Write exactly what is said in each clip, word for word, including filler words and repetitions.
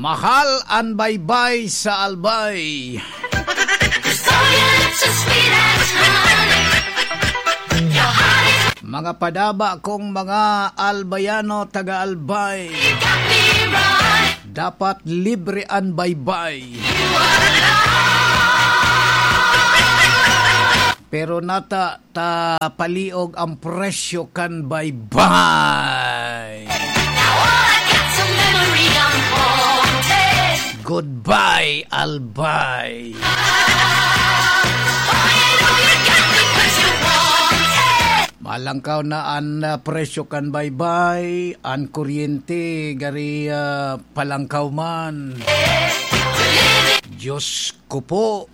Mahal an baybay sa Albay. Gusto yan sa sweet as honey. Your heart is Mga padaba kong mga Albayano, taga Albay. Got me right. Dapat libre an baybay. You are right. Pero nata ta paliog ang presyo kan baybay. Now all I got's a memory I'm haunted. Goodbye, Albay. Ah, boy, I know you got me 'cause you want it. Malangkaw na an, ah, presyo kan baybay, an kuryente, gari, ah, palangkaw man. Diyos ko po.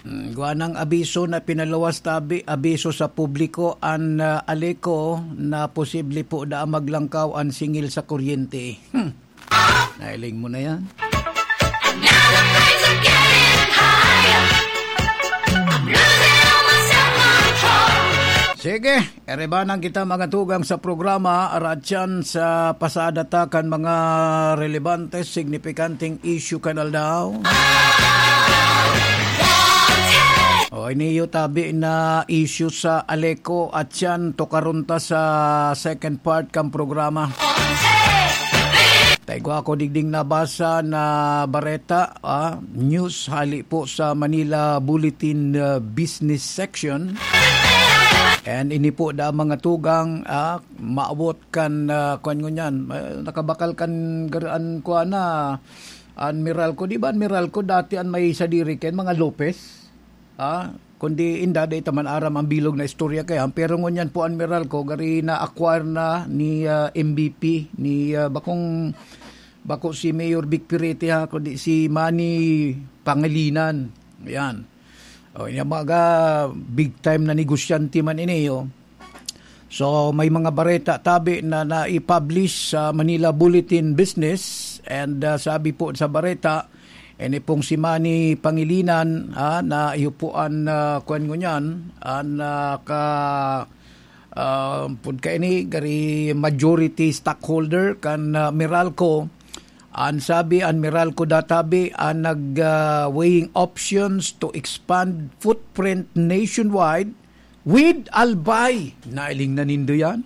Mm, gawa ng abiso na pinaluwas tabi, abiso sa publiko an, ah, Aleco na posible po na maglangkaw an singil sa kuryente. Hmm. Nailing mo na yan. Sige, erebanan kita mga tugang sa programa, aratyan sa pasada ta kan mga relevante, signipikanteng issue kan aldaw. O, iniyo tabi na issue sa Aleco at yan, tukaron ta sa second part kan programa. Taigwa ako digding nabasa na bareta, ah, news hali po sa Manila Bulletin, ah, Business Section. And ini po da mga tugang, ah, maawot kan, ah, kuwan ngunyan, ah, nakabakal kan gar-, an kuwan na, an Meralco. Di ba an Meralco dati an may sadiri kayan, mga Lopez? Ah, kundi inda, dai ta man aram ang bilog na istorya kaya. Pero ngunyan po an Meralco, gari na-acquire na ni, ah, M V P, ni, ah, bakong, bako si Mayor Vic Pirete ha, kundi si Manny Pangilinan. Ayan. O, yung mga big time na negosyante man ini, oh. So, may mga bareta tabi na nai-publish sa Manila Bulletin Business, and, ah, sabi po sa bareta, ini pong si Manny Pangilinan, ah, na iyo po an, ah, kuwan ngunyan, an, ah, ka, ah, pud kaini, gari majority stockholder kan, ah, Meralco. An sabi, an Meralco da tabi, an nag, ah, weighing options to expand footprint nationwide with Albay. Nailing na nindo yan?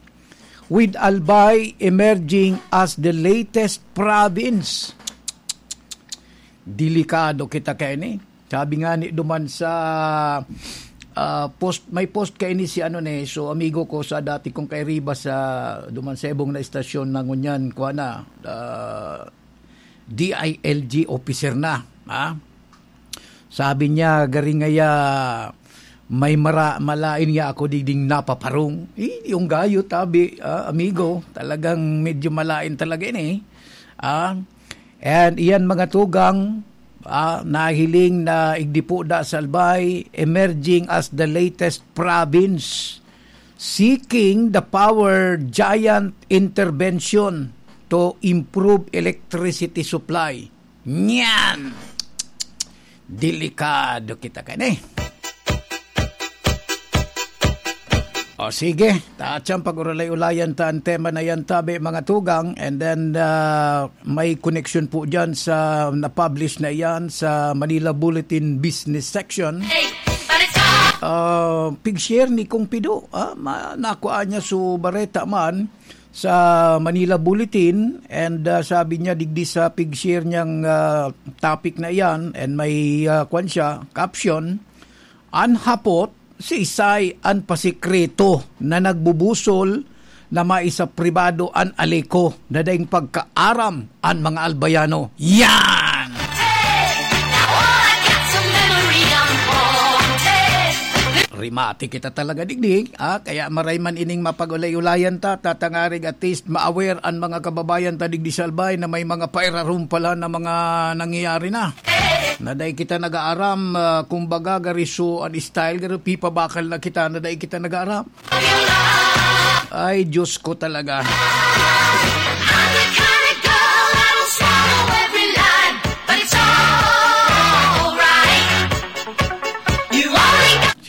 With Albay emerging as the latest province. Delikado kita kaini. Sabi nga ni duman sa, ah, post, may post kaini si ano ni, so amigo ko sa dati kong kairiba sa duman sa ibong na istasyon na ngunyan, kuha na, ah, D I L G officer na, ha? Sabi niya, "Gari ngaya, may mara-, malain niya ako digding napaparong." Eh, yung gayo, tabi, ah, amigo, talagang medyo malain talaga ini, ah. And iyan, mga tugang, ah, nahiling na igdi po da sa Albay, emerging as the latest province seeking the power giant intervention to improve electricity supply. Nyan! Delikado kita kaini. O sige, ta atyan pag-uralay-ulayan ta an tema na yan, tabi, mga tugang, and then, ah, may connection po dyan sa na-publish na iyan sa Manila Bulletin Business Section. Ah, pig-share ni Kong Pido, ah, ma-, nakuha niya su bareta man sa Manila Bulletin, and, ah, sabi niya digdi sa pig-share niyang, ah, topic na iyan, and may, ah, kwan siya, caption, "An hapot, siisay an pasikreto na nagbubusol na maisa pribado an Aleco na daing pagkaaram an mga Albayano." Yan! Remate kita talaga digdi, ah, kaya maray man ining mapag-ulay-ulayan ta, tatangarig at least ma-aware an mga kababayan ta digdi sa Albay na may mga pairarom pala na mga nangyayari na. Na dai kita nag-aaram, ah, kumbaga, gari so an style, gari pipabakal na kita na dai kita nag-aaram. Ay, Diyos ko talaga.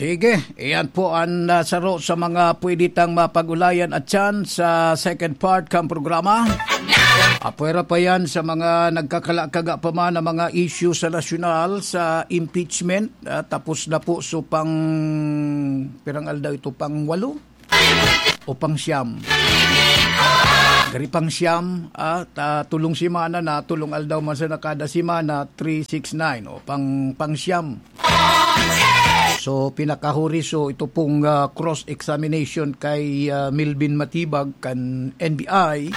Sige, iyan po ang, ah, saro sa mga pwede tang mapag-ulayan at yan sa second part kang programa. Apwera pa yan sa mga nagkakalakaga pa man na mga issue sa nasyonal, sa impeachment. Ah, tapos na po, so pang, pirang aldaw ito, pang walo o pang siyam? Gari pang siyam, ah, ta, tulong semana na, tulong aldaw man sa nakada semana, three, six, nine, o pang, pang siyam. So, pinakahuri, so, ito pong, ah, cross-examination kay, ah, Melvin Matibag kan N B I.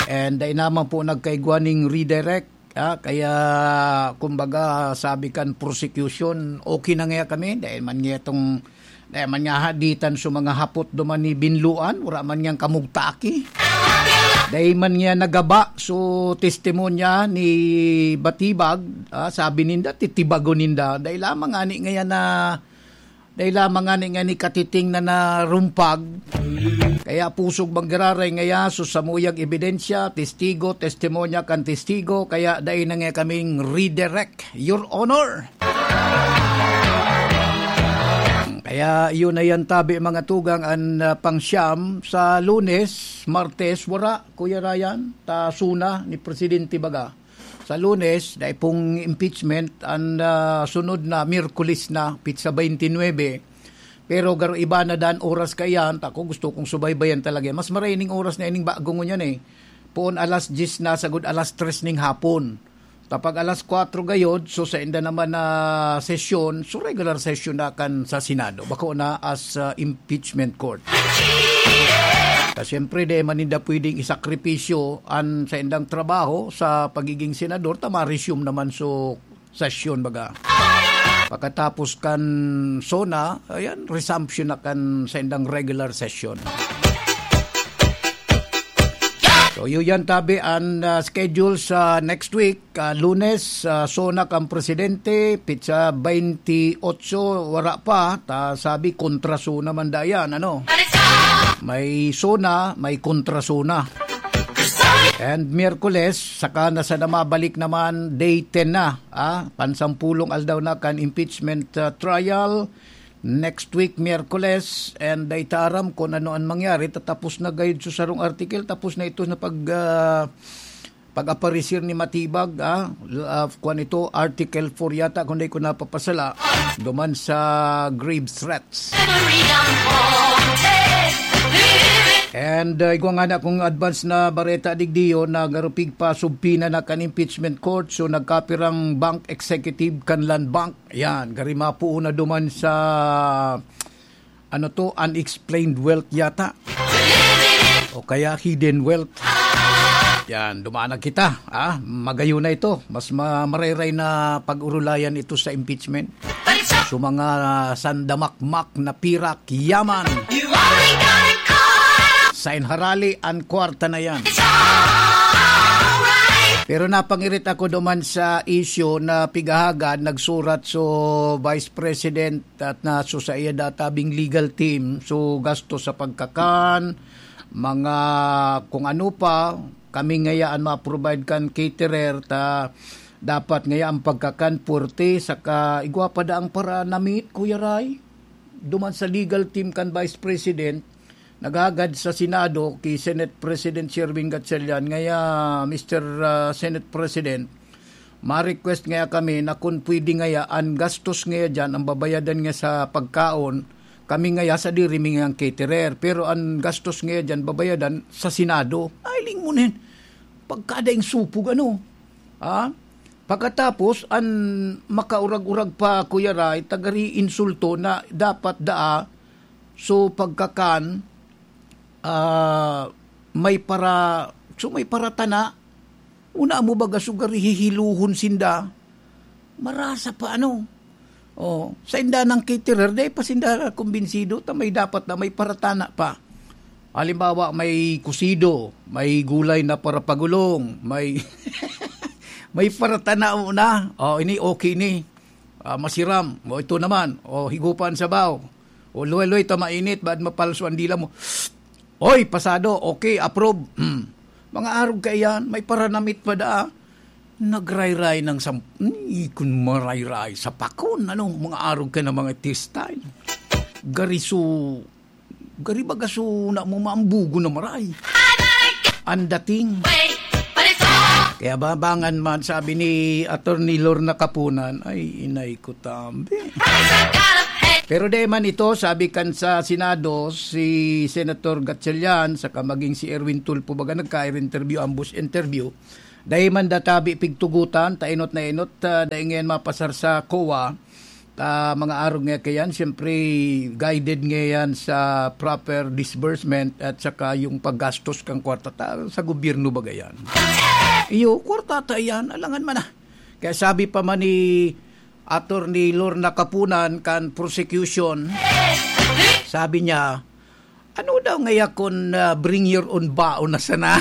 And dai naman po nagkaigwa ning redirect. Ah, kaya, kumbaga, sabi kan prosecution, okay na nga kami. Dahil man nga itong, dahil man nga haditan sa mga hapot duman ni Binluan, wala man niyang kamugtaki. Dai man niya nagaba, so testimonya ni Batibag, ah, sabi ninda, titibagon ninda. Dai lamang ani ngayon na, dai lamang ani nga ni katiting na narumpag. Kaya pusog manggiraray ngaya, so samuyang ebidensya, testigo, testimonya kan testigo, kaya dai na nga kaming redirect, Your Honor. Kaya yun na yan, tabi, mga tugang, an, ah, pangsyam sa Lunes, Martes, wara, Kuya Ryan, ta suna ni Presidente baga. Sa Lunes, dai pong impeachment, an, ah, sunod na Miyerkules na, petsa twenty-nine. Pero garo iba na dan oras kaiyan, ta ako gusto kong subaybayan talaga. Mas maraining oras na ining bago ngunyan eh. Poon alas diyes na, sagod alas tres ning hapon. Tapag alas kwatro gayod, so sa inda naman na sesyon, so regular session na kan sa Senado. Bako na as, ah, impeachment court. Ta siyempre, di man ninda pwedeng isakripisyo an sa indang trabaho sa pagiging senador, ta ma-resume naman so sesyon, baga. Pagkatapos kan sona, ayan, resumption na kan sa indang regular session. So, yun yan, tabi, ang, ah, schedule sa next week. Ah, Lunes, ah, sona kan presidente, petsa twenty-eight, wara pa. Ta, sabi, kontra sona man dayan, ano? May sona, may kontra sona. And Miyerkules, saka na sana mabalik naman, day ten na, ah, pansampulong aldaw na kan impeachment, ah, trial. Next week, Miyerkules, and dai ta aram kung ano ang mangyari. Tatapos na gayud sa sarong article, tapos na ito na pag, ah, pag-aparisir ni Matibag, ah, l-, ah, kwan ito, Article four yata, kung di ko napapasala, duman sa grave threats. And, ah, igwa nga na kung advance na bareta digdiyo, nagarupig pa, subpina na kan impeachment court, so nagkapirang bank executive kan Land Bank. Ayan, gari mapuo na duman sa, ano to, unexplained wealth yata. O kaya hidden wealth. Yan, dumaan na kita. Ah, magayon na ito. Mas ma-, marayray na pag-urulayan ito sa impeachment. So, mga sandamakmak na pirak, yaman. Sa inharali, ang kwarta na yan. Pero napangirit ako duman sa issue na pigahagad, nagsurat so Vice President at na so sa iya databing legal team, so gasto sa pagkakan, mga kung ano pa, kami ngaya an ma-provide kan caterer, ta dapat ngaya ang pagkakan puwerte, saka igwa pa daang para namit, Kuya Ray. Duman sa legal team kan Vice President, naghagad sa Senado ki Senate President Sherwin Gatchalian, ngaya, Mister, ah, Senate President, ma-request ngaya kami na kun pwede ngaya an gastos ngaya diyan, ang babayadan nga sa pagkaon, kami ngaya sadiri mi ngayang caterer. Pero an gastos ngaya diyan babayadan sa Senado. Ay, lingmonen. Pagkadaing supog, ano? Ha? Pagkatapos, an makaurag-urag pa, Kuya Ray, tagari insulto na dapat daa, so pagkakan, ah, may para, so may paratana, una mo baga sugari hihiluhon sinda, marasa pa ano. Oh, sa inda ng caterer, dai pa sinda kumbinsido, ta may dapat na may paratana pa. Halimbawa, may kusido, may gulay na parapagulong, may, may paratana mo na. Oh, ini okay ni. Ah, masiram. O, ito naman. O, higupan sabaw. O, luway-luway ta mainit, baad mapalso ang dila mo. Oy, pasado. Okay, approve. Hmm. Mga arog kaiyan, may paranamit pa daa. Nagrayray ng sam-, hmm, kun marayray sa pakon, ano, mga arog ka na mga tistay. Gariso, gari baga so na mo maambugo na maray. Ang dating. Kaya babangan man, sabi ni Attorney Lorna Kapunan, ay, inay ko tambi. Pero di man ito, sabi kan sa Senado, si Senator Gatchalian, saka maging si Erwin Tulfo, baga nagka-interview, ambush interview, dai man databi pigtugutan, ta enot na enot, ah, dai ngayon mapasar sa COA, ta mga arog nga kayan, siyempre, guided ngayon sa proper disbursement at saka yung paggastos kang kwarta ta, sa gobyerno ba gayan. Iyo, kwarta ta yan, alangan man na. Kaya sabi pa man ni Attorney Lorna Kapunan kan prosecution, sabi niya, "Ano daw ngaya kun, ah, bring your own baon na sana?"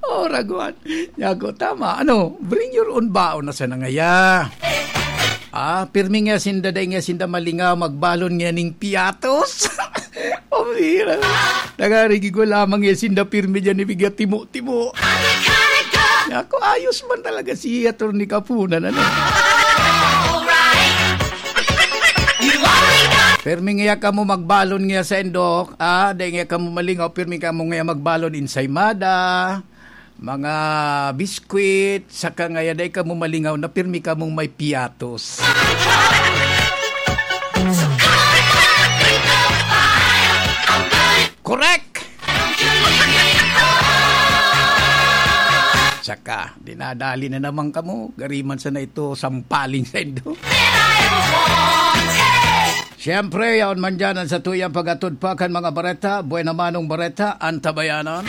Oh, raguan. Yago, tama. Ano, bring your own baon na sana ngaya. Ah, pirmi nga sinda, dai nga sinda malingaw, magbalon nga ning piatos. Oh, hira. Nagarigig ko lamang nga sinda pirmi dyan, ibigay timo-timo. Ako, ayos man talaga si Attorney Kapunan, ano? Pirmi nga kamo magbalon nga sa indok, ah, dai nga kamo malingaw, pirmi kamo nga magbalon, insaymada, mga biskwit, saka ngaya dai kamo malingaw na pirmi kamong may piatos. Correct! Saka, dinadali na naman kamo. Gariman sana ito, sampaling sa indo. Siyempre, yaon man dyan ang satuyang pag-atod pa kan mga bareta, buena manong bareta, antabayanan.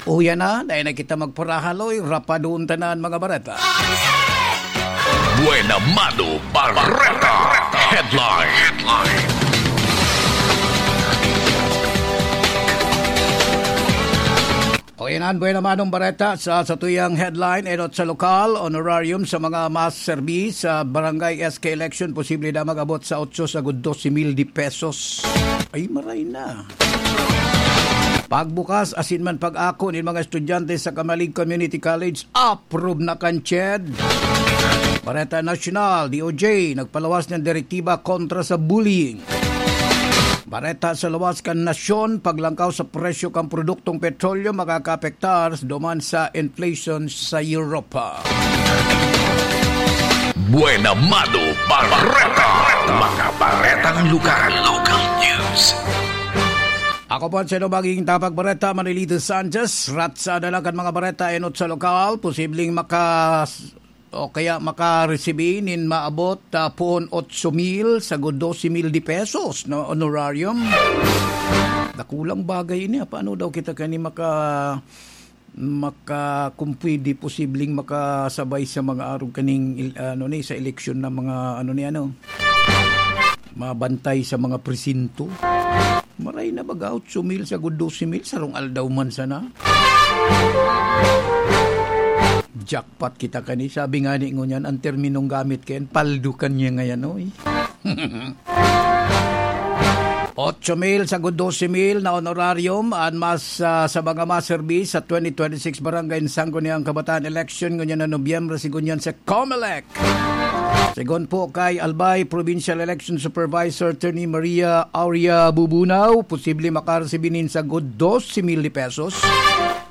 Uya na, dahil na kita magparahaloy, rapadon tanan mga bareta. Buena Mano Bareta Headline. O yan ang Buena Manong Bareta sa satuyang headline. Enot sa lokal, honorarium sa mga maserbi sa Barangay S K election, posible na mag-abot sa otso sagud dose mil de pesos. Ay, maray na. Pagbukas asin man pag-ako nin mga estudyante sa Camalig Community College, approve na kan CHED. Bareta Nasyonal, D O J, nagpalawas ng direktiba kontra sa bullying. Bareta sa lawas kan nasyon, paglangkaw sa presyo kan produktong petrolyo makakaapektar duman sa inflation sa Europa. Buena Mano Bareta. Mga baretang lugar. Local news. Ako po ang sino magiging tapag bareta, Manilito Sanchez. Ratsada lang kan mga bareta, enot sa lokal, posibleng maka-, o kaya makaresibi nin maabot, ah, poon otso mil sagud dose mil de pesos, no, honorarium. Dakulang bagay ini, ah. Paano daw kita kani maka-, maka-, kung pwede, posibleng makasabay sa mga arog kaning il-, ano ni, sa eleksyon na mga, ano ni, ano, mabantay sa mga presinto? Maray na baga, otso mil sagud dose mil, sarong aldaw man sana. Jackpot kita kani. Sabi nga ni ngunyan, ang terminong gamit kayan, paldo kan niya ngayon, oy. Otso mil sagud dose mil na honorarium an mas, ah, sa mga maserbi sa twenty twenty-six Barangay Sangguniang Kabataan Election ngunyan na Nobyembre, sigunyan sa Comelec. Sigon po kay Albay Provincial Election Supervisor Attorney Maria Aurea Bubunao, posible makaresibi nin sagud dose mil de pesos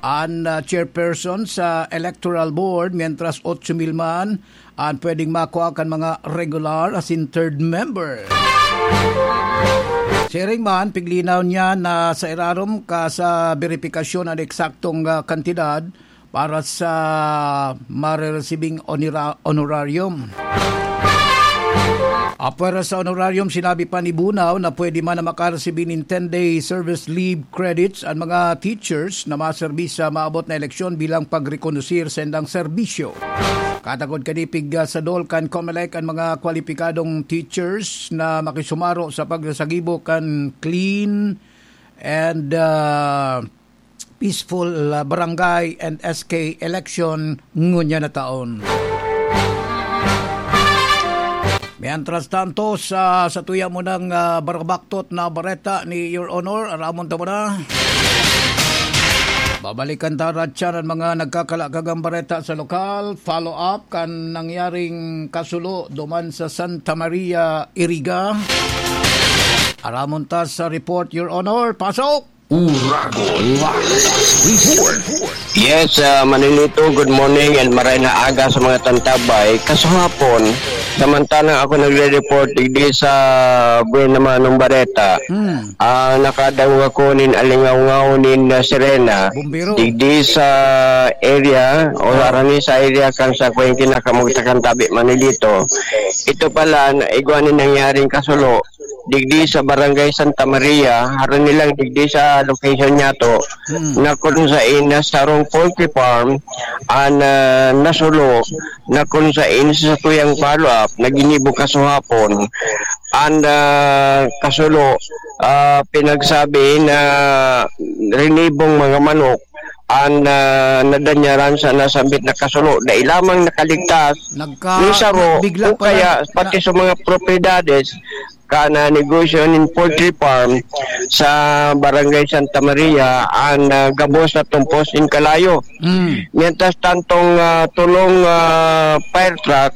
an, ah, chairperson sa Electoral Board, mientras otso mil man an pwedeng makua kan mga regular asin third member. Siring man, piglinaw niya na sa irarom ka sa beripikasyon an eksaktong, ah, kantidad para sa mareresibing onira-, honorarium. Apwera sa honorarium, sinabi pa ni Bunao na pwede man na makaresibi nin ten-day service leave credits an mga teachers na maserbi sa maabot na eleksyon bilang pagrekonosir sa indang serbisyo. Katakod kanipig, ah, sa dol kan Comelec an mga kwalipikadong teachers na makisumaro sa pagsasagibo kan clean and, ah, peaceful, ah, barangay and S K election ngunyan na taon. Mientras tanto, sa, sa tuya mo ng, ah, barabaktot na bareta ni Your Honor, aramon ta mo na. Babalikan ta, Ratchan, ang mga nagkakalagang bareta sa lokal. Follow up kan nangyaring kasulo duman sa Santa Maria, Iriga. Aramon ta sa report, Your Honor. Pasok! Uragon Live Report. Yes, ah, Manilito, good morning and maray na aga sa mga tantabay. Kasuhapon, samantalang ako nagre-report digdi sa Buena Manong Bareta, Hmm. ah, nakadangog ako nin alingawngaw nin, ah, sirena. Bumbero. Digdi sa area, o Oh. harani sa area kan sa Kuweng Kinakamugtakan Tabi, Manilito. Ito pala, na igwa nin nangyaring kasulo. Digdi sa Barangay Santa Maria, harani lang digdi sa location niyato, Hmm. na kung sain na sarong poultry farm, an, ah, nasulo, na kung sain sa tuyang follow-up, na ginibo kasuhapon, an, ah, kasulo, ah, pinagsabi na rinibong mga manok, an, ah, nadanyaran sa nasambit na kasulo, dai lamang nakaligtas Nagka-, ni saro, bigla o pala kaya na pati sa mga propiedades, kana negosyo nin poultry farm sa Barangay Santa Maria, an, ah, gabos na tumpos nin kalayo. Mm. Mientras tantong, ah, tulong, ah, fire truck,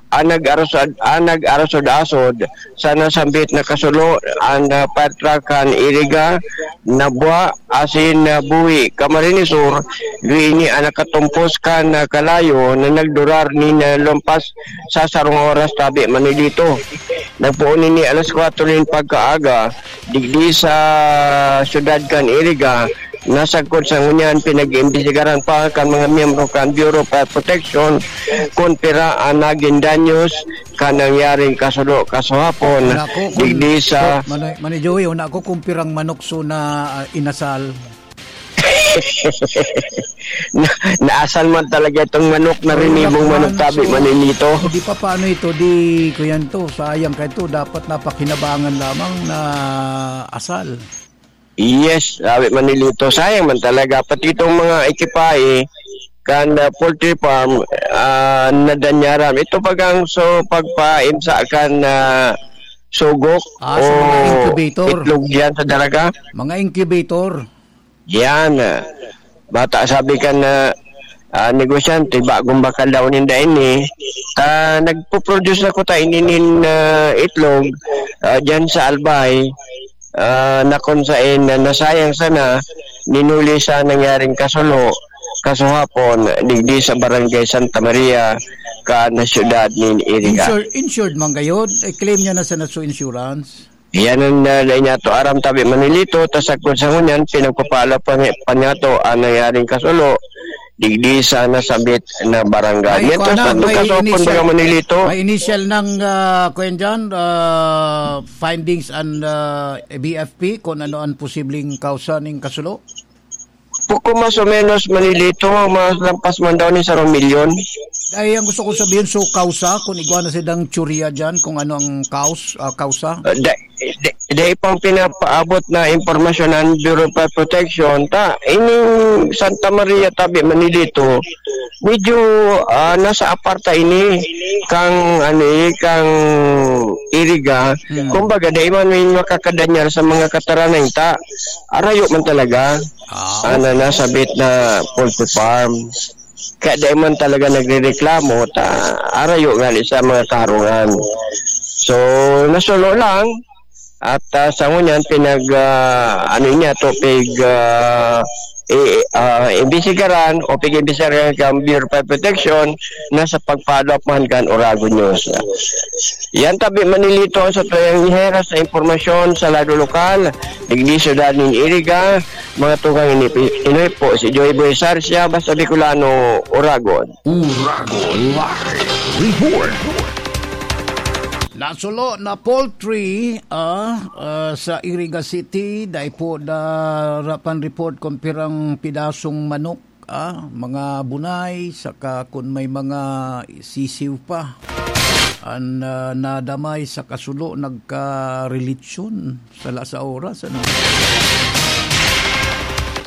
ang nag-arasod, ang nag-arasod-asod sa nasambit na kasulo, ang, ah, fire truck kan Iriga, Nabua, asin, ah, Buhi, Camarines Sur, duini ang nakatumpos kan, ah, kalayo na nagdurar nin, ah, lumpas sa sarong oras tabi man ni dito. Nagpoon ini alas kwatro nin pagkaaga, digdi sa siyudad kan Iriga, nasagkod sa ngunyan, pinag-iimbestigaran pa kan mga miyembro kan Bureau of Fire Protection kun pira ang nagin danyos kan nangyaring kasulo kasuhapon, Nako, kung, digdi sa Manoy, Manoy Joey, una ko kung pirang manok so na, ah, inasal. Na, naasal man talaga itong manok na Ay, rinibong naku, manok, ano, tabi so, man nito. Di pa paano ito, di, kuyan to, sayang ka ito, dapat napakinabangan lamang na asal. Yes, sabi man ni Lito, sayang man talaga. Pati itong mga ekipahe, kan, ah, poultry farm, ah, nadanyaran. Ito pag ang so, pagpaimsa kan, ah, sugok Ah, sa mga o incubator. Itlog diyan sa daraga. Mga incubator. Yan, ah. Bata sabi kan, ah, ah, negosyante, bagong bakal daw ninda ini. Ta, nagpo-produce na ko ta ini nin, ah, itlog, ah, diyan sa Albay. Ah, na kung sain na nasayang sana, ninuli sa nangyaring kasulo, kasuhapon, digdi sa Barangay Santa Maria, kan siyudad nin Iriga. Insure-, insured man gayod? I-claim niya na sa Natso Insurance? Yan ang, ah, dai niya to aram tabi man ni Lito, ta sagkod sa ngunyan, pinagpapala pa niya, pa niya to ang nangyaring kasulo, digdi sa nasambit na barangay. May Mientras kuwan na, tanto, may kasopon initial, baga man ni Lito. May initial ng, ah, kuwan dyan, ah, findings and, ah, B F P kung ano ang posibleng kausa ning kasulo? Poco mas o menos, man ni Lito, mas lampas man daw ni sarong milyon. Ay, ang gusto ko sabihin, so kausa, kung igwa na silang teorya dyan, kung ano ang kaus-, ah, kausa? Ah, da-, da-, dai pang pinapaabot na impormasyon ang Bureau of Fire Protection, ta, ining Santa Maria tabi man ni Lito, medyo, ah, nasa aparta ini kang, ano, eh, kang Iriga. Hmm. Kumbaga, dai man may makakadanyar sa mga kataranay ta. Arayo man talaga. Ah, Ana, okay. Nasabit na poultry farm. Kaya dai man talaga nagrereklamo, ta, arayo nga sa mga karungan. So, nasulo lang. At, ah, sa ngunyan, pinag, ah, ano niya, to, pig, ah, i-, ah, imbestigaran o pig-imbestigaran kan Bureau of Fire Protection na sa pagpalo man kan Oragon News. Yan tabi man ni Lito ang satuyang iheras na impormasyon sa lado lokal, digdi syudad nin Iriga, mga tugang ini, ini po si Joy Boy Sarsia, basta Bicolano, Oragon. Uragon Live Report. Nasulo na poultry, ah, ah, sa Iriga City, dai po darapan report kung pirang pidasong manok, ah, mga bunay, saka kung may mga sisiw pa. An, ah, nadamay sa kasulo, nagkarelitsyon. Sala sa oras, ano?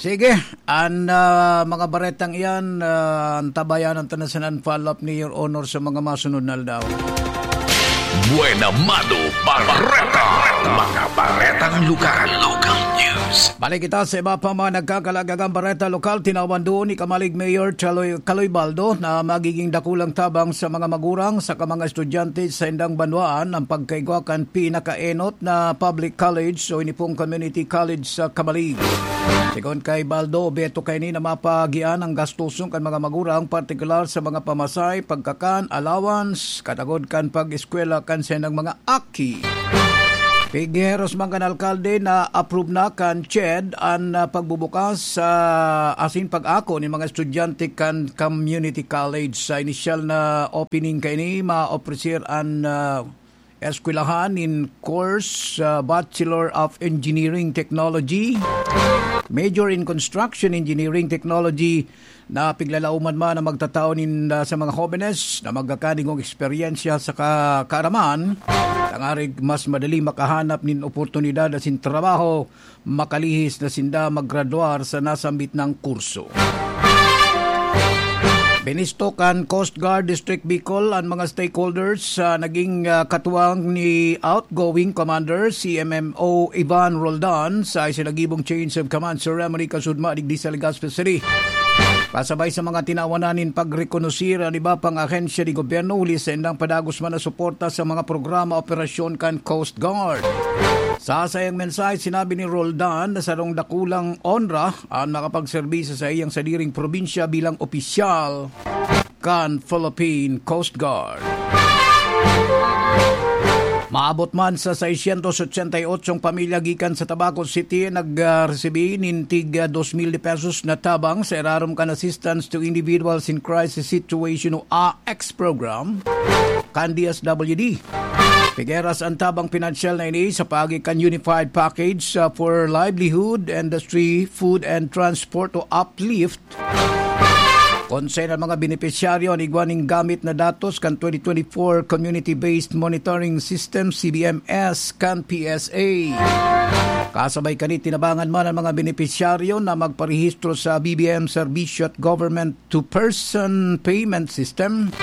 Sige, an, ah, mga baretang iyan, ah, antabayanan ta na sa nan follow-up ni Your Honor sa mga masunod na aldaw. Buena Mano Bareta. Mga baretang lugar. Local news. Balik kita sa iba pa mga nagkakalagagang bareta lokal. Tinawan doon ni Kamalig Mayor Chaloy Kaloy Baldo na magiging dakulang tabang sa mga magurang saka mga estudyante sa indang banwaan ang pagkaigwa kan pinakaenot na public college o ini pong community college sa Kamalig. Sigon kay Baldo, obheto kaini na mapagian ang gastuson kan mga magurang, partikular sa mga pamasay, pagkakan, allowance, katagod kan pag-eskwela kan sa indang mga aki. Pigeros man kan alkalde na approve na kan CHED an, ah, pagbubukas sa asin pag-ako ni mga estudyante kan community college. Sa inisyal na opening kaini, maopresir an, ah, eskwelahan nin course, ah, Bachelor of Engineering Technology, major in Construction Engineering Technology, na piglalauman man na magtatao nin, ah, sa mga hobenes na magkakanigong eksperyensya sa ka-, kaaraman, tangarig mas madali makahanap nin oportunidad asin trabaho makalihis na sinda maggraduar sa nasambit nang kurso. Binisto kan Coast Guard District Bicol an mga stakeholders sa naging, ah, katuwang ni outgoing Commander C M M O Ivan Roldan sa isinagibong Change of Command Ceremony kasudma digdi sa Legazpi City. Kasabay sa mga tinawanan nin pagrekonosir an iba pang ahensya ni gobyerno huli sa indang padagos man na suporta sa mga programa operasyon kan Coast Guard. Sa sayang mensahe, sinabi ni Roldan na sarong dakulang onra an makapagserbi sa saiyang sadiring probinsya bilang opisyal kan Philippine Coast Guard. Maabot man sa seiscientos ochenta y ocho pamilya gikan sa Tabaco City nag, ah, resibi nin tig, ah, dos mil de pesos na tabang sa irarom kan Assistance to Individuals in Crisis Situation o A X program kan D S W D. Pigeras an tabang pinansyal na ini sa paagi kan Unified Package, ah, for Livelihood, Industry, Food and Transport o uplift. Konsay na mga benepisyaryo an igwa nin gamit na datos kan twenty twenty-four Community-Based Monitoring System, C B M S, kan P S A. Kasabay kani, tinabangan man ang mga benepisyaryo na magparehistro sa B B M Serbisyo at Government to Person Payment System.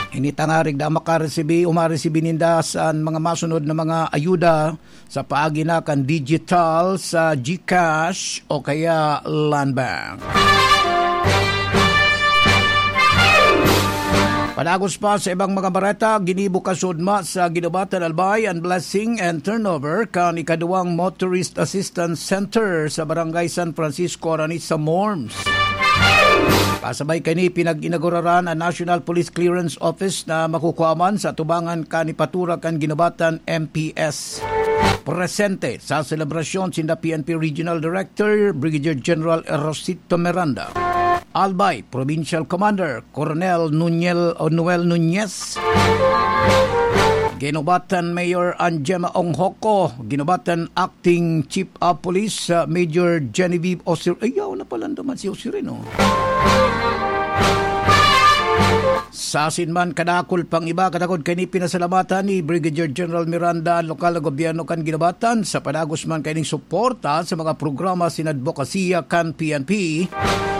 Ini tangarig na makaresibi o maresibi ninda sa mga masunod na mga ayuda sa paagi na kan digital sa GCash o kaya Land Bank. Padagos pa sa ibang mga bareta, ginibo kasudma sa Guinobatan, Albay an blessing and turnover kan ikaduwang Motorist Assistance Center sa Barangay San Francisco, Aranisa, Morms. Kasabay kani, pinag-inauguraran an National Police Clearance Office na makukuha man sa atubangan kan ipatura kan Guinobatan M P S. Presente sa selebrasyon sinda P N P Regional Director Brigadier General Rosito Miranda, Albay Provincial Commander Coronel Nunel o Noel Nunez, Guinobatan Mayor Anjema Onghoko, Guinobatan Acting Chief of Police, ah, Major Genevieve Osir-, ay, yaw na pala naman si Osirin, oh. Sa asin man, kadakul pang iba, kadakul kani pinasalamatan ni Brigadier General Miranda an lokal na gobyerno kan Guinobatan sa padagos man kaining suporta sa mga programa sin adbokasiya kan P N P,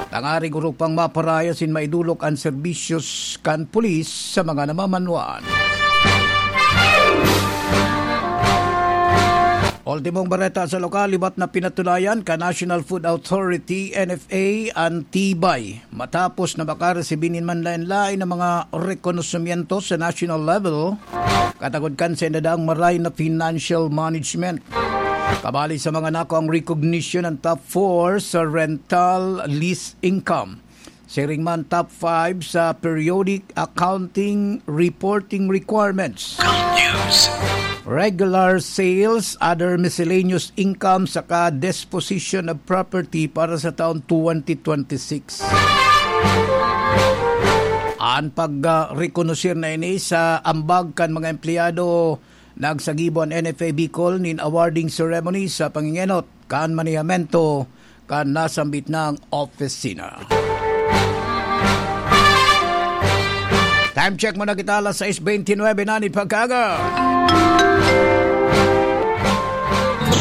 tangarig orog pang maparaya sin maidolok an serbisyos kan pulis sa mga namamanwaan. Ultimong bareta sa lokal, liwat na pinatunayan kan National Food Authority, N F A, an tibay matapos na makaresibi nin manlaen-laen na mga rekonosimiento sa national level, katagod kan sa indang maray na financial management. Kabali sa mga nako ang recognition ng top four sa rental lease income. Siring man top five sa periodic accounting reporting requirements. Good news. Regular sales, other miscellaneous income, saka disposition of property para sa taon twenty twenty-six. An pag, ah, rekonosir na ini sa ambag kan mga empleyado, nagsagibo an N F A Bicol nin awarding ceremony sa pangingenot kan manejamento kan nasambit na opisina. Time check muna kita, alas sais beintinuebe na nin pagkaaga.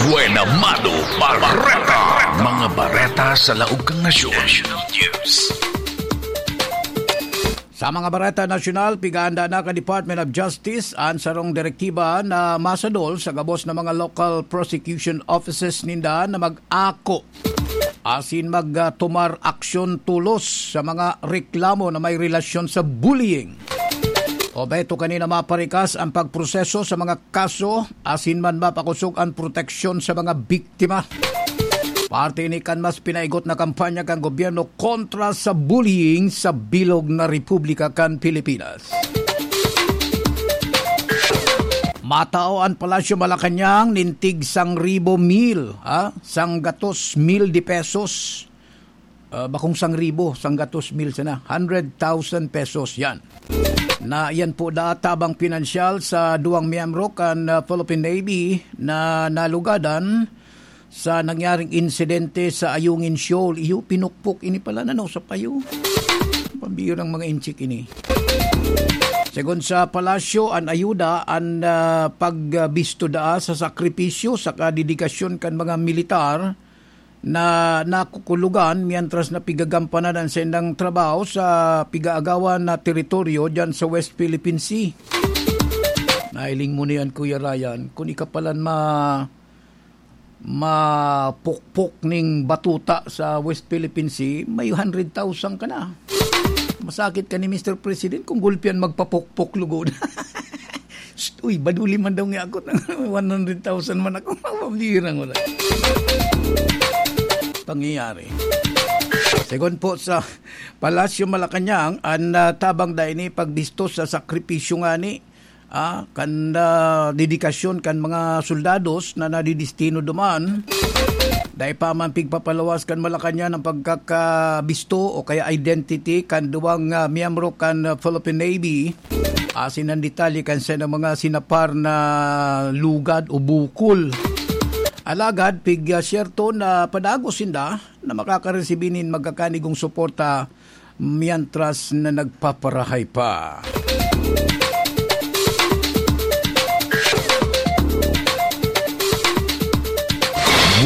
Buena Mano Bareta. Mga bareta sa laog kan nasyon. National News. Sa mga bareta nasyonal, pigaanda na kan Department of Justice an sarong direktiba na masadol sa gabos na mga local prosecution offices ninda na mag-ako asin magtumar aksyon tolos sa mga reklamo na may relasyon sa bullying. Obheto kanina maparikas ang pagproseso sa mga kaso asin man mapakosog ang proteksyon sa mga biktima. Parte ini kan mas pinaigot na kampanya kan gobyerno kontra sa bullying sa bilog na republika kan Pilipinas. Matao an Palasyo Malacañang nin tig sangribo mil, ha? Sanggatos mil de pesos. Ah, bakong sangribo, sanggatos mil sana. Hundred thousand pesos yan. Na yan po da tabang pinansyal sa duwang miyembro kan, ah, Philippine Navy na nalugadan sa nangyaring insidente sa Ayungin Shoal. Iyo, pinukpok ini pala na, no, sa payo. Pambirang mga inchik ini. Segun sa palasyo, an ayuda, an, ah, pagbisto daa sa sakripisyo saka dedikasyon kan mga militar na nakukulugan mientras na pigagampanan an saindang trabaho sa pigaagawan na teritoryo diyan sa West Philippine Sea. Nahiling mo na yan, Kuya Ryan. Kung ika palan ma-, mapukpok ning batuta sa West Philippine Sea, may hundred thousand ka na. Masakit ka ni Mister President kung gulpian magpapukpok lugod. Shh, uy, baduli man daw nga ako. One hundred thousand man ako. Mabirang wala. Pangyayari. Segun po sa Palasyo Malacañang, an, ah, tabang da ini pagbisto sa sakripisyo ngani, ah, kan, ah, dedikasyon kan mga soldados na nadidistino duman. Dai pa man pigpapalawas kan Malacañang ang pagkakabisto o kaya identity kan duwang, ah, miyembro kan, ah, Philippine Navy. Asin ang detalye kan saindang mga sinapar na lugad o bukol. Alagad, pig, ah, siyerto na padagos sinda na makakaresibi nin magkakanigong suporta mientras na nagpaparahay pa.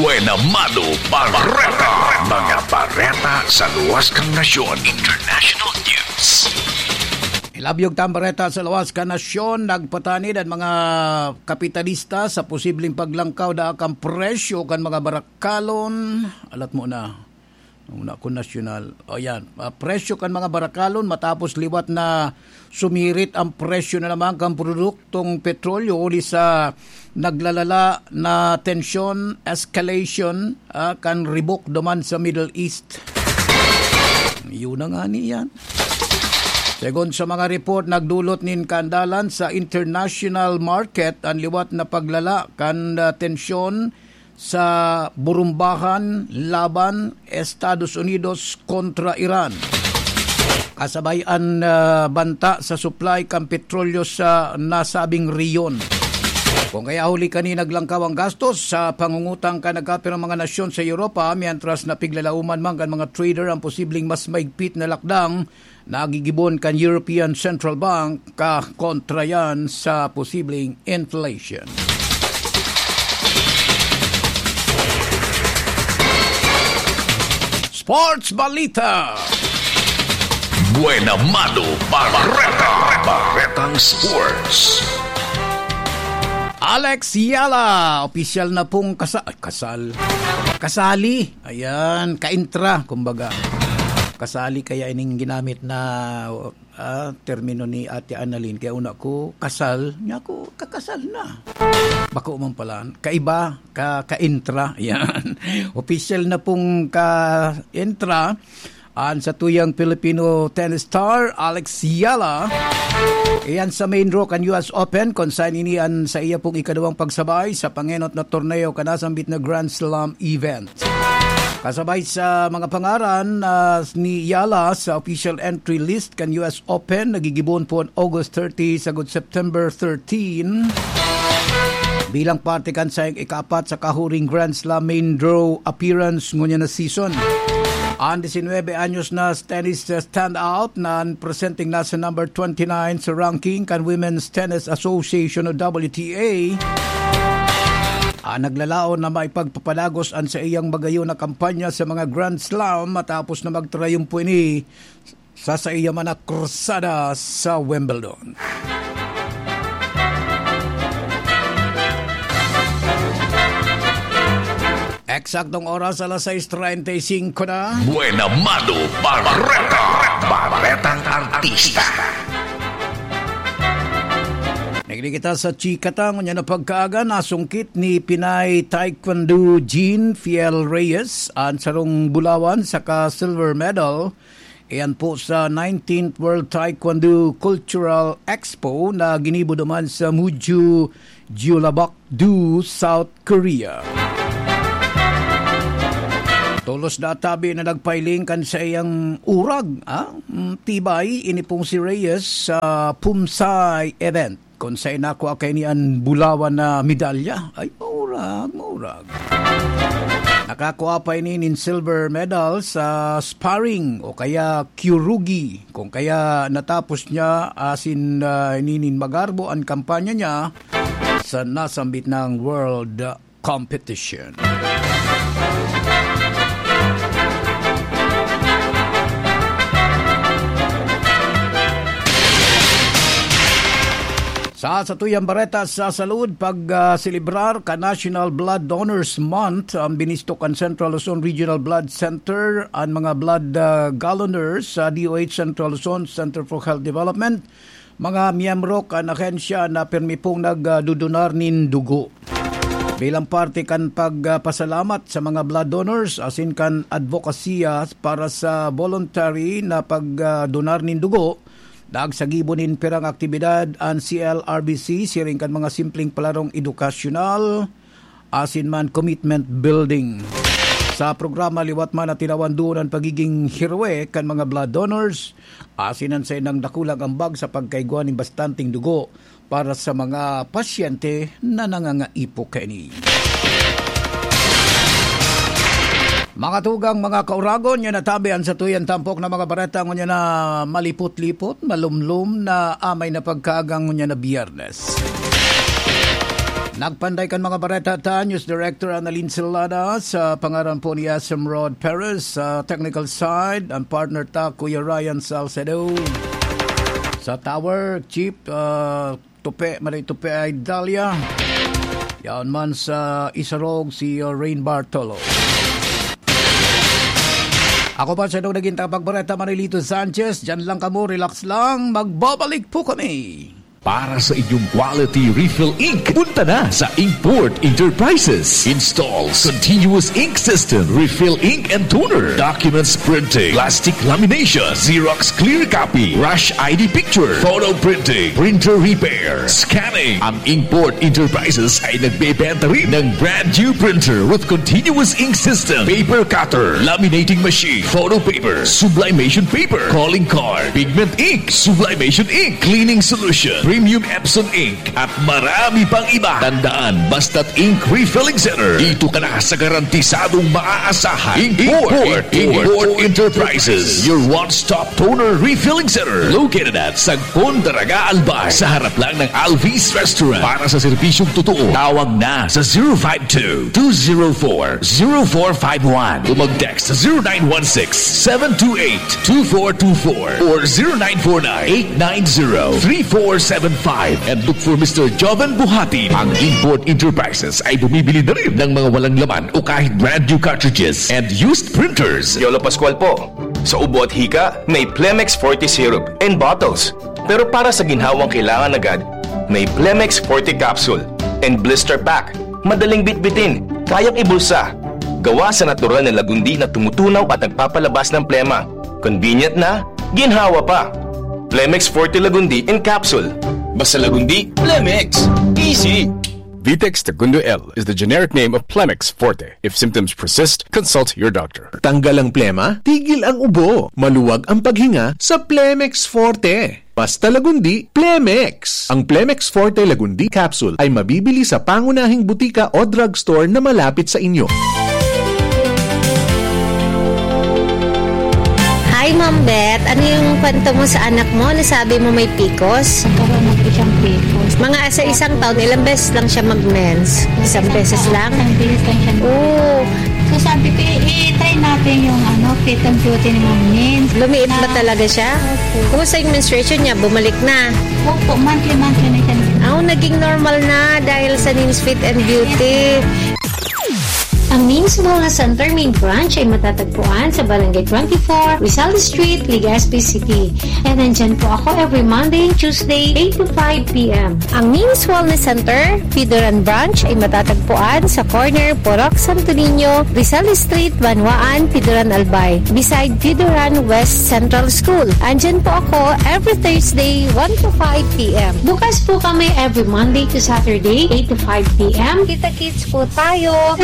Buena Mano Bareta. Mga bareta sa luwas kan nasyon. International news. Ilabyog ta an bareta sa luwas kan nasyon. Nagpatanid an mga kapitalista sa posibleng paglangkaw daa kan presyo kan mga barakalon. Alat mo na. Una ko nasyonal. O yan, ah, presyo kan mga barakalon matapos liwat na sumirit ang presyo na naman kan produktong petrolyo huli sa naglalala na tensyon, escalation, ah, kan ribok duman sa Middle East. Yun na nga ni yan. Segun sa mga report, nagdulot nin kaandalan sa international market an liwat na paglala kan, ah, tensyon sa burumbahan laban Estados Unidos kontra Iran. Kasabay an, ah, banta sa supply kan petrolyo sa nasabing rehiyon. Kung kaya huli kani naglangkaw ang gastos sa pangungutang kan nagkapirang mga nasyon sa Europa, mientras na piglalauman man kan mga trader ang posibleng mas maigpit na lakdang nagigibon kan European Central Bank ka kontra yan sa posibleng inflation. Sports Balita. Buena Mano Bareta. Baretang Sports. Alex Yala, opisyal na pong kasa-, ay, kasal. Kasali. Ayan, kaintra, kumbaga. Kasali kaya ining ginamit na, ah, termino ni Ate Annalyn. Kaya una ko, kasal. Niya ako, kakasal na. Bako man pala. Kaiba, ka, kaintra. Yan. Opisyal na pong ka-intra. An satuyang Filipino tennis star, Alex Yala, iyan sa main draw kan U S Open, kung saan ini an sa iya pong ikaduwang pagsabay sa pangenot na torneo kan nasambit na Grand Slam event. Kasabay sa mga pangaran, ah, ni Yala sa official entry list kan U S Open, nagigibon po an August thirty sagod September thirteen. Bilang parte kan saiyang ikaapat sa kahuring Grand Slam main draw appearance ngunyan na season. An disinwebe anyos na tennis standout na presenteng nasa number twenty-nine sa ranking kan Women's Tennis Association o W T A, ang naglalaon na maipagpapadagos an saiyang magayon na kampanya sa mga Grand Slam matapos na magtrayumpo ini sa saiya man na krusada sa Wimbledon. Eksaktong oras, alas sais treinta y cinco na. Buena Mano Barreta, Barretang Artista. Nagdi kita sa chika ta, ngunyan na pagkaaga, nasungkit ni Pinay Taekwondo Jean Fiel Reyes an sarong bulawan saka silver medal. Iyan po sa nineteenth World Taekwondo Cultural Expo na ginibo duman sa Muju, Jeollabuk-do, South Korea. Tolos na tabi na nagpailing kan saiyang urag, ah? Mm, tibay, ini pong si Reyes sa Pumsay event. Kun saen nakua kaini an bulawan na medalya, ay, maurag, maurag. Nakakua pa ini nin silver medal sa sparring o kaya kyorugi, kung kaya natapos niya asin, ah, ini nin magarbo an kampanya niya sa nasambit na world competition. Sa satuyang bareta sa salud, pag, ah, selebrar kan National Blood Donors Month, ang binistok kan Central Luzon Regional Blood Center, ang mga blood, ah, galoners sa D O H Central Luzon Center for Health Development, mga miyembro kan ahensya na pirmi pong nagdudunar nin dugo. Bilang parte kan pagpasalamat sa mga blood donors asin kan advokasya para sa voluntary na pagdunar nin dugo, nagsagibo nin pirang aktibidad an C L R B C siring kan mga simpleng palarong edukasyonal, asin man commitment building. Sa programa, liwat man na tinawan duon an pagiging heroe kan mga blood donors, asin an saindang dakulang ambag sa pagkaigwa nin bastanteng dugo para sa mga pasyente na nangangaipo kaini. Mga tugang, mga kauragon, yan natabi an satuyang tampok na mga bareta ngunyan na malipot-lipot, malumlom na amay na pagkaagang ngunyan na Biyernes. Nagpanday kan mga bareta ta, News Director Annalyn Celada, sa pangaran po ni S M Rod Perez, sa technical side, ang partner ta, Kuya Ryan Salcedo. Sa tower, Chief, ah, Tupe, Marie Tupe ay Dahlia. Yan man sa Isarog, si, uh, Rain Bartolo. Ako pa sa naging tagapagbareta, Marilito Sanchez. Diyan lang kamo, relax lang. Magbabalik po kami. Para sa inyong quality refill ink, punta na sa Inkport Enterprises. Installs continuous ink system, refill ink and toner, documents printing, plastic lamination, Xerox clear copy, rush I D picture, photo printing, printer repair, scanning. Ang Inkport Enterprises ay nagbebenta rin ng brand new printer with continuous ink system, paper cutter, laminating machine, photo paper, sublimation paper, calling card, pigment ink, sublimation ink, cleaning solution, premium Epson ink, at marami pang iba. Tandaan, basta't ink refilling center, dito ka na sa garantisadong maaasahan. Import, Import, Import Enterprises, your one-stop toner refilling center. Located at Sagpon, Daraga, Albay, sa harap lang ng Alvis Restaurant. Para sa serbisyong totoo, tawag na sa zero five two, two zero four, zero four five one. O mag-text sa zero nine one six, seven two eight, two four two four or zero nine four nine, eight nine zero, three four seven five. And look for Mister Joven Buhati. Ang Import Enterprises ay bumibili na rin ng mga walang laman o kahit brand new cartridges and used printers. Yolo Pascual po. Sa ubo at hika, may Plemex Forte Syrup and bottles. Pero para sa ginhawang kailangan agad, may Plemex Forte Capsule and Blister Pack. Madaling bitbitin, kayang ibulsa. Gawa sa natural na lagundi na tumutunaw at nagpapalabas ng plema. Convenient na, ginhawa pa. Plemex Forte Lagundi in Capsule. Basta Lagundi, Plemex. Easy. Vitex Segundo L is the generic name of Plemex Forte. If symptoms persist, consult your doctor. Tanggal ang plema, tigil ang ubo, maluwag ang paghinga sa Plemex Forte. Basta Lagundi, Plemex! Ang Plemex Forte Lagundi Capsule ay mabibili sa pangunahing butika o drugstore na malapit sa inyo. Hi, Ma'am Beth. Ano yung kwento mo sa anak mo? Nasabi mo may picos? Nagkaroon ng isang picos. Mga sa isang taon, ilang beses lang siya mag-mens? Isang beses lang? Isang beses lang siya. Oo. So sabi ko, "I-, i-try natin yung ano, fit and beauty ni Ma'am Min." Lumiit ba Na talaga siya? Opo. Kumusta yung menstruation niya? Bumalik na? Opo, monthly-monthly na siya. Ah, naging normal na dahil sa Nin's Fit and Beauty. Ang Nin's Wellness Center main branch ay matatagpuan sa Barangay twenty-four, Rizal Street, Legazpi City. And nandyan po ako every Monday and Tuesday, eight to five p m. Ang Nin's Wellness Center, Pidoran Branch, ay matatagpuan sa corner Purok Santo Niño, Rizal Street, Banwaan, Pidoran, Albay, beside Pidoran West Central School. Andyan po ako every Thursday, one to five p m. Bukas po kami every Monday to Saturday, eight to five p m. Kita-kits po tayo!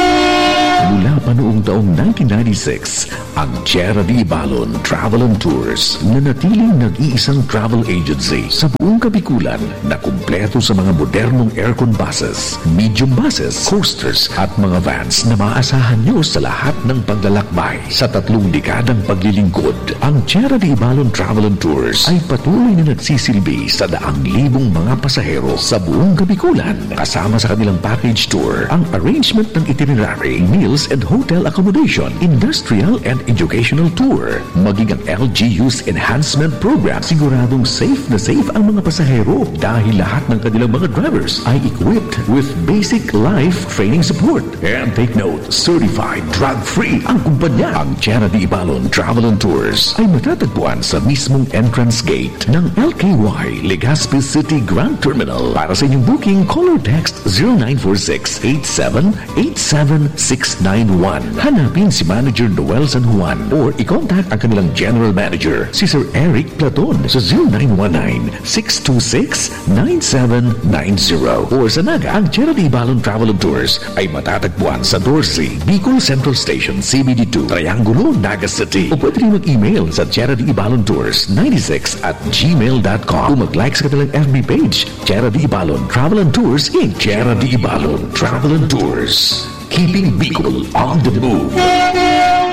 Mula pa noong taong nineteen ninety-six, ang Tierra de Ibalon Travel and Tours nanatiling nag-iisang travel agency sa buong Kabikulan na kumpleto sa mga modernong aircon buses, medium buses, coasters at mga vans na maaasahan nyo sa lahat ng paglalakbay. Sa tatlong dekadang paglilingkod, ang Tierra de Ibalon Travel and Tours ay patuloy na nagsisilbi sa daang libong mga pasahero sa buong Kabikulan. Kasama sa kanilang package tour ang arrangement ng itinerary, meals and hotel accommodation, industrial and educational tour, maging ang L G U's enhancement program. Siguradong safe na safe ang mga pasahero dahil lahat ng kanilang mga drivers ay equipped with basic life training support. And take note, certified drug-free ang kumpanya. Ang Tierra de Ibalon Travel and Tours ay matatagpuan sa mismong entrance gate ng L K Y Legazpi City Grand Terminal. Para sa inyong booking, call or text zero nine four six eight seven eight seven six nine one. Hanapin si Manager Noel San Juan or i-contact ang kanilang General Manager, si Sir Eric Platon, sa zero nine one nine six two six nine seven nine zero. Or sa Naga, ang Tierra de Ibalon Travel and Tours ay matatagpuan sa doce Bicol Central Station, C B D two, Triangulo, Naga City. O pwede rin mag-email sa Tierra de Ibalon Tours ninety-six at gmail dot com o mag-like sa kanilang F B page, Tierra de Ibalon Travel and Tours, Inc. Tierra de Ibalon Travel and Tours. Keeping Bicol on the move.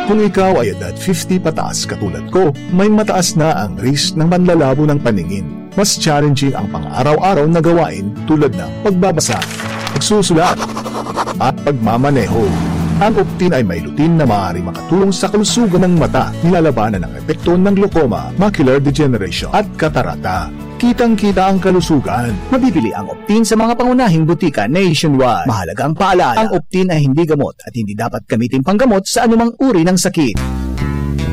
Kung ikaw ay edad fifty pataas katulad ko, may mataas na ang risk ng panlalabo ng paningin. Mas challenging ang pang-araw-araw na gawain tulad ng pagbabasa, pagsusulat, at pagmamaneho. Ang Optin ay may lutein na maaari makatulong sa kalusugan ng mata, nilalabanan ang epekto ng glaucoma, macular degeneration, at katarata. Kitang-kita ang kalusugan. Mabibili ang Optin sa mga pangunahing butika nationwide. Mahalaga ang paalala, ang Optin ay hindi gamot at hindi dapat gamitin panggamot sa anumang uri ng sakit.